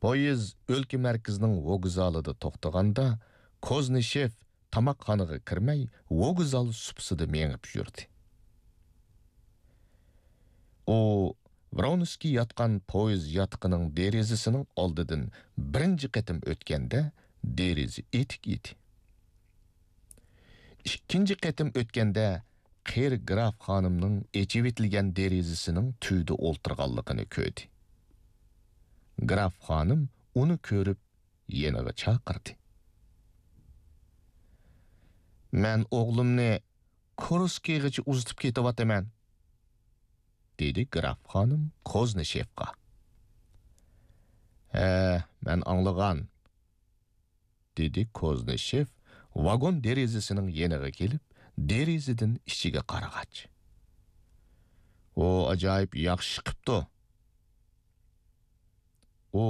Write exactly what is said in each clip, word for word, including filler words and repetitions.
پويىز ئۆلكە مەركىزىنىڭ ۋوگزالىدا توختىغاندا، كوزنىشېف تاماقخانىغا كىرمەي، ۋوگزال سۇپىسىدا مېڭىپ يۈردى. ئۇ ۋرونسكىي ياتقان پويىز ياتىقىنىڭ دېرىزىسىنىڭ ئالدىدىن بىرىنچى قېتىم ئۆتكەندە، دېرىزە ئېتىك ئىدى. ئىككىنچى قېتىم ئۆتكەندە، قېرى گراف خانىمنىڭ ئېچىۋېتىلگەن دېرىزىسىنىڭ تۈۋىدە ئولتۇرغانلىقىنى كۆردى. گراف خانىم ئۇنى كۆرۈپ، يېنىغا چاقىردى. «مەن ئوغلۇمنى كۇرسكىغىچە ئۇزىتىپ كېتىۋاتىمەن»، دېدى گراف خانىم كوزنىشېفقا. «ھە، مەن ئاڭلىغان»، دېدى كوزنىشېف ۋاگون دېرىزىسىنىڭ يېنىغا كېلىپ، دېرىزىدىن ئىچىگە قارىغاچ. «ئۇ ئاجايىپ ياخشى ئىش قىپتۇ.» ئۇ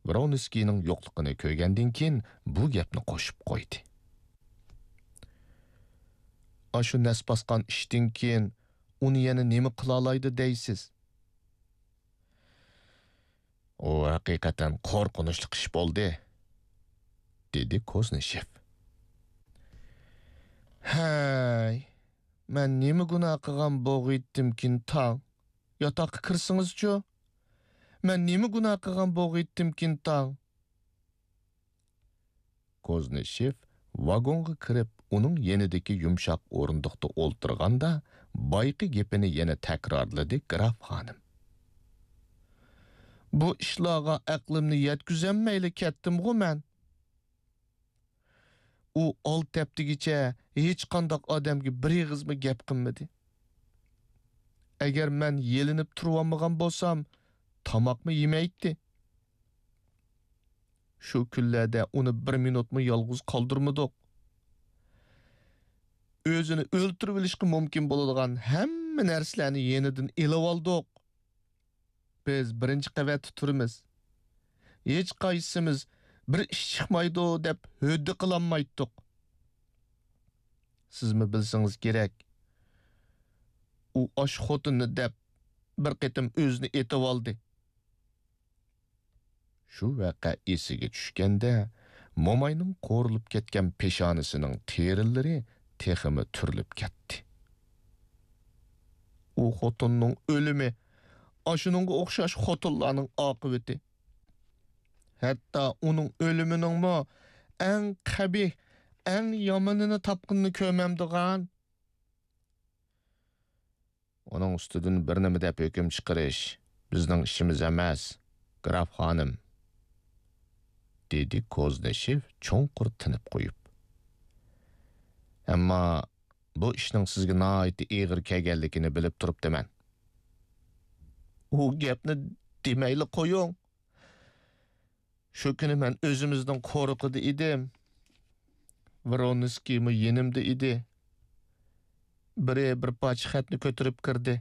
ۋرونسكىينىڭ يوقلۇقىنى كۆرگەندىن كېيىن، بۇ گەپنى قوشۇپ قويدى. «ئاشۇ نەس باسقان ئىشتىن كېيىن ئۇنى يەنە نېمە قىلالايدۇ دەيسىز؟» «ئۇ ھەقىقەتەن قورقۇنچلۇق ئىش بولدى»، دېدى كوزنىشېف. «ھەي، مەن نېمە گۇناھ قىلغان بوغىيتتىمكىن تاڭ؟ ياتاققا كىرسىڭىزچۇ؟ مەن نېمە گۇناھ قىلغان بوغىيتتىمكىن تاڭ؟» كوزنىشېف ۋاگونغا كىرىپ، ئۇنىڭ يېنىدىكى يۇمشاق ئورۇندۇقتا ئولتۇرغاندا، بايىقى گېپىنى يەنە تەكرارلىدى گراف خانىم. «بۇ ئىشلارغا ئەقلىمنى يەتكۈزەلمەيلا كەتتىمغۇ مەن. ئۇ ئالتە ھەپتىگىچە ھېچقانداق ئادەمگە بىر ئېغىزمۇ گەپ قىلمىدى. ئەگەر مەن يېلىنىپ تۇرۇۋالمىغان بولسام، تاماقمۇ يېمەيتتى. شۇ كۈنلەردە ئۇنى بىر مىنۇتمۇ يالغۇز قالدۇرمىدۇق. ئۆزىنى ئۆلتۈرۈۋېلىشقا مۇمكىن بولىدىغان ھەممە نەرسىلەرنى يېنىدىن ئېلىۋالدۇق. بىز بىرىنچى قەۋەتتە تۇرىمىز. ھېچقايسىمىز بىر ئىش چىقمايدۇ دەپ ھۆددە قىلالمايتتۇق. سىزمۇ بىلسىڭىز كېرەك، ئۇ ئاشۇ خوتۇننى دەپ بىر قېتىم ئۆزىنى ئېتىۋالدى.» شۇ ۋەقە ئېسىگە چۈشكەندە، موماينىڭ قورۇلۇپ كەتكەن پېشانىسىنىڭ تېرىلىرى تېخىمۇ تۈرۈلۈپ كەتتى. «ئۇ خوتۇننىڭ ئۆلۈمى ئاشۇنىڭغا ئوخشاش خوتۇنلارنىڭ ئاقىۋىتى. ھەتتا ئۇنىڭ ئۆلۈمىنىڭمۇ ئەڭ قەبىھ، ئەڭ يامىنىنى تاپقىنىنى كۆرمەمدىغان.» «ئۇنىڭ ئۈستىدىن بىر نېمە دەپ ھۆكۈم چىقىرىش بىزنىڭ ئىشىمىز ئەمەس، گراف خانىم»، دېدى كوزنىشېف چوڭقۇر تىنىپ قويۇپ. «ئەمما بۇ ئىشنىڭ سىزگە ناھايىتى ئېغىر كەلگەنلىكىنى بىلىپ تۇرۇپتىمەن.» «ئۇ گەپنى دېمەيلا قويۇڭ. شۇ كۈنى مەن ئۆزىمىزنىڭ قورۇقىدا ئىدىم. ۋرونسكىيمۇ يېنىمدا ئىدى. بىرى بىر پارچە خەتنى كۆتۈرۈپ كىردى.